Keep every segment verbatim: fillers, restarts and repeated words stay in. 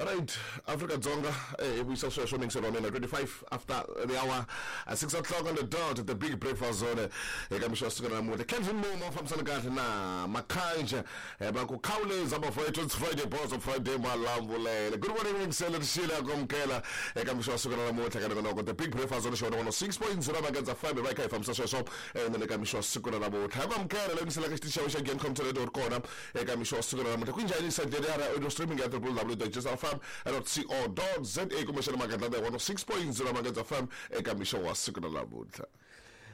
Alright, Afrika Dzonga eh vuyisa sweswo mingiselo wa mina twenty-five after the hour, uh, six o'clock on the dot, the big breakfast zone eka mixo wa siku ra namuntlha. Kelvin Momo fambisana kahle na Makhanja eh va ku khawuleza bafowethu, it's Friday boss of Friday malambulele. Good morning mingiselo rixile ku amukela eka mixo wa siku ra namuntlha ka nongonoko the big breakfast zone xona one six point zero Magenza F M va kha hi fambisa sweswo eh na le ka mixo wa siku ra namuntlha. Ku amukela leyi mingiselo ka xitichi xa Gen Com Radio kona eka mixo wa siku ra namuntlha. Ku njhani side ya audio streaming ya w w w dot j s f m dot co dot z a kumbexana Magadlada one six point zero Magadza F M eka mixo wa siku ra namuntlha.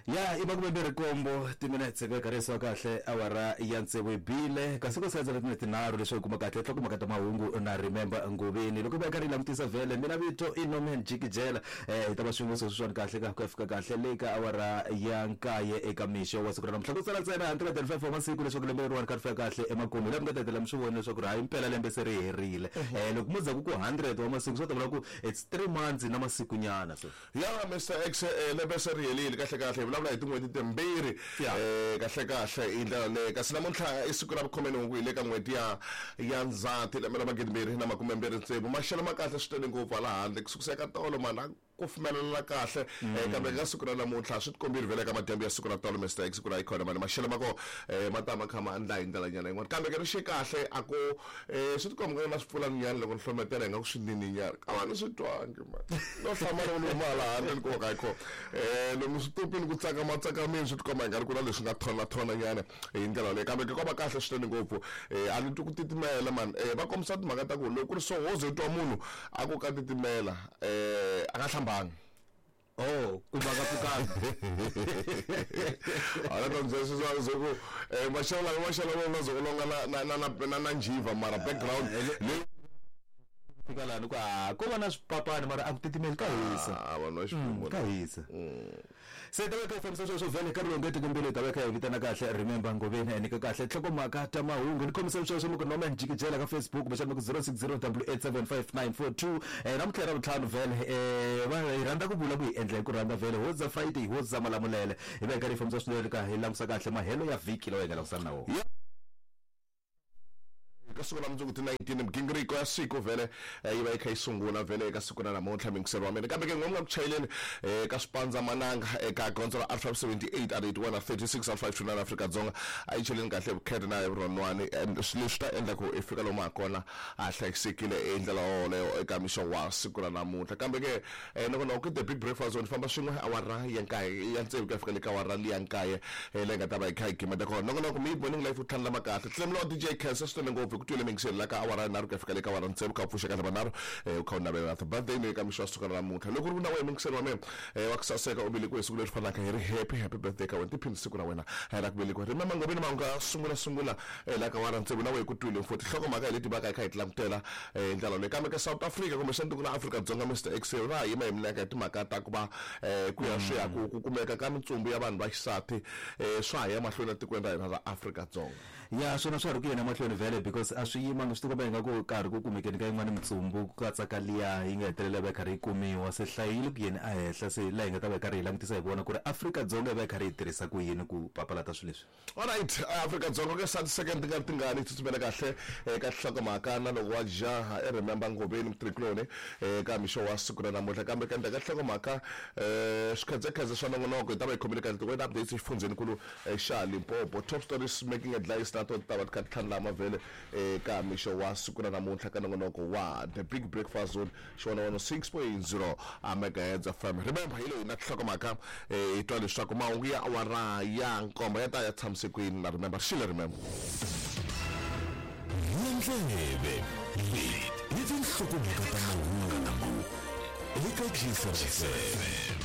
Ya i makume mbirhi nkombo timinetse ku karhi kahle awara ya tsevu hi bile kasi ku sadzela timinetse tinharhu leswaku kuma kahle nhlokomhaka ta mahungu na Remember Ngobeni loko va karhi langutisa vhele mina vito i Norman Jikijela eh hi ta va swin'we sweswiwani kahle ka ku fika kahle le ka awara ya nkaye eka mixo wa siku ra namuntlha ku sala ntsena hundred and five wa masiku leswaku lembe leriwani ka ri fika kahle emakumu laha mi nga ta hetelela mi swi vona leswaku ri hayi mpela lembe se ri herile eh loko mo za ku ku hundred wa masiku swi ta vula ku it's three months na masiku nyana so ya Mister X lembe se ri herile kahle kahle vulavula hi tin'hweti timbirhi eh kahle kahle hi ndlela leyi kasi namuntlha i siku ra vukhume hi le ka n'hweti ya ya Ndzhati lembe ra magidi mbirhi na makume mbirhi tsevu maxelo ma kahle swinene ngopfu hala handle ku sukusela ka tolo mana ku pfumelela kahle kambe ka siku ra namuntlha swi tikombile vhele ka madyambu ya siku ra tolo Mister X ku ra ikhona mani maxelo ma ko ma ta ma kha ma endla hi ndlela nyana yin'wana kambe ke ri xe kahle a ku swi tikomba na swipfulani loko ni hlometela hi nga ku swinini nyana ka va ni swi twangi mani no hlamala ni huma hala handle ni ku ka ikho eh lomu switupini ku tsakama tsakamini swi tikomba hi nga ri ku na leswi nga thona thona nyana hi ndlela leyi kambe ke ko va kahle swinene ngopfu a ni twi ku titimela mani va kombisa timhaka ta ku loko ku ri so wo ze twa munhu a ku ka titimela eh a nga hlamba. Oh, kumba ka pfukanga. Ala ta ndzi swi swi ku eh maxelo maxelo ma zo longa na na na na njiva mara background le fika laha ni ku a ko va na swipapani mara a ku titimeli ka hisa. Ah, vanhu va xiphemu ka hisa. Se ta ka fambisa sweswo vhele ka rilonge tikombele ta ka hi vitana kahle Remember Ngobeni ene ka kahle nhlokomhaka ta mahungu ni khomisa sweswo loko Norman Jikijela ka Facebook kumbexana ku zero six zero eight seven five nine four two eh namuntlha ra vutlhanu vhele eh va hi rhandza ku vula ku hi endla hi ku rhandza vhele hoza Friday hoza malamulele hi va hi karhi hi fambisa swinene ka hi langusa kahle mahelo ya vhiki lawa hi nga langusana na wona. Ka siku ra mundzuku ti nineteen migingiriko ya siku vhele yi va yi kha yi sungula vhele eka siku ra namuntlha mingiselo wa mina kambe ke n'we nga ku chayeleni eka swipandza mananga eka gondzo ra R five seventy-eight R eighty-one R thirty-six R five two nine Afrika Dzonga a yi cheleni kahle vukheta na vurhonwani leswi ta endla ku i fika lomu ha kona a hlayisekile hi ndlela yoleyo eka mixo wa siku ra namuntlha kambe ke nongonoko the big breakfast zone famba swin'we awara ya nkaye ya tsevu ku ya fika le ka awara liya nkaye leyi nga ta va yi kha yi gimeta kona nongonoko mi morning life u tlhandlama kahle hlemula wa D J Khensa swinene ngopfu ku twile mingiselo la ka awara nharhu ku ya fika le ka awara tsevu ka pfuxa kahle manharhu u kha u navela birthday leyi ka mixo wa siku ra namuntlha loko ri ku na wena mingiselo wa mina wa ku saseka u velekiwe hi siku leri fanaka hi ri happy happy birthday ka wena tiphini siku ra wena ra ku velekiwa Remember Ngobeni mahungu ya sungula sungula la ka awara tsevu na wena ku twile futhi nhlokomhaka hi leti va ka hi kha hi ti langutela hi ndlela leyi kambe ka South Africa kumbexana tiko ra Afrika Dzonga Mister X ra yima hi milenge hi timhaka ta ku va ku ya swi ya ku kumeka ka mitsumbu ya vanhu va xisati swa ha ya mahlweni etikweni ra hina ra Afrika Dzonga. Ya swona swa ri ku yena mahlweni vhele because a swi yimanga swi tikomba ingaku karhi ku kumekeni ka yin'wana mitsumbu ku katsa ka liya yi nga hetelela va yi karhi yi kumiwa se hlayile ku yeni a henhla se laha hi nga ta va hi karhi hi langutisa hi vona ku ri Afrika Dzonga yi va yi karhi yi tirhisa ku yini ku papalata swilo leswi. Alright, Afrika Dzonga ke thirty second tingani tingani tsutsumela kahle eka nhlokomhaka na loko wa jaha i Remember Ngobeni mutrikuloni eka mixo wa siku ra namuntlha kambe ka endzhaku ka nhlokomhaka swikhedzekhedze swa nongonoko hi ta va hi khomile kahle ti-weather updates exifundzhenikulu xa Limpopo top stories making headlines na to ta va ti kha ti tlhandlama vhele eka mixo wa siku ra namuntlha ka nongonoko wa the big breakfast zone xona one six point zero megahertz F M. Remember hi leyi na nhlokomhaka hi twa leswaku mahungu ya awara ya nkombo ya ta ya tshamise kwini na Remember xile Remember ndleve leti i tinhlokomhaka ta mahungu eka G S F M.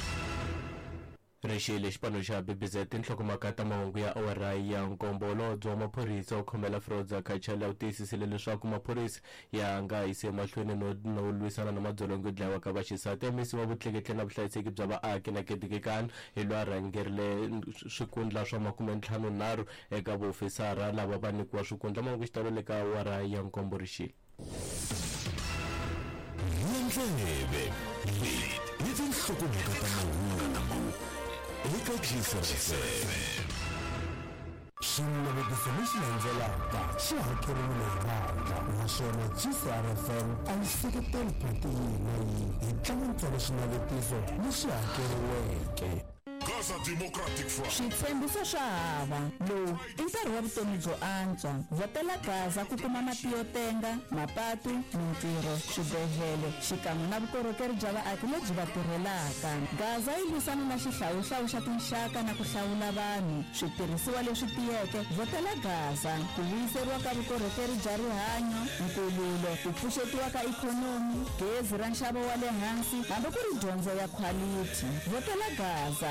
Rixile xipano xa B B Z tinhlokomhaka ta mahungu ya awara ya nkombo holobye wa maphorisa u khomela Froza Kachela u tiyisisile leswaku maphorisa ya nga yisi emahlweni no no lwisana na madzolonga yo dlayiwa ka vaxisati misi wa vutleketli na vuhlayiseki bya vaaki na Ketikekani hi loyi a rhangerile swikundla swa makume ntlhanu nharhu eka vuofisara lava va nyikiwa swikundla mahungu xitalo le ka awara ya nkombo rixile. Ndleve leti i tinhlokomhaka ta mahungu eka G S F M. Xinavetiso lexi landzelaka xi hakeriwile hi vandla, naswona G C R F M a yi seketeli phati yihi na yihi. Hi tlanga ntsena xinavetiso lexi hakeriweke. Gaza Democratic Front. Switshembiso swa hava. Lowu i nkarhi wa vutomi byo antswa. Vhotela Gaza ku kuma mati yo tenga, mapatu, mintirho, swibedhlele xikan'we na vukorhokeri bya vaaki lebyi va tirhelaka. Gaza yi lwisana na xihlawuhlawu xa tinxaka na ku hlawula vanhu. Switirhisiwa leswi tiyeke. Vhotela Gaza ku vuyiseriwa ka vukorhokeri bya rihanyo, nkululo, ku pfuxetiwa ka ikhonomi, gezi ra nxavo wa le hansi, hambi ku ri dyondzo ya khwalithi. Vhotela Gaza.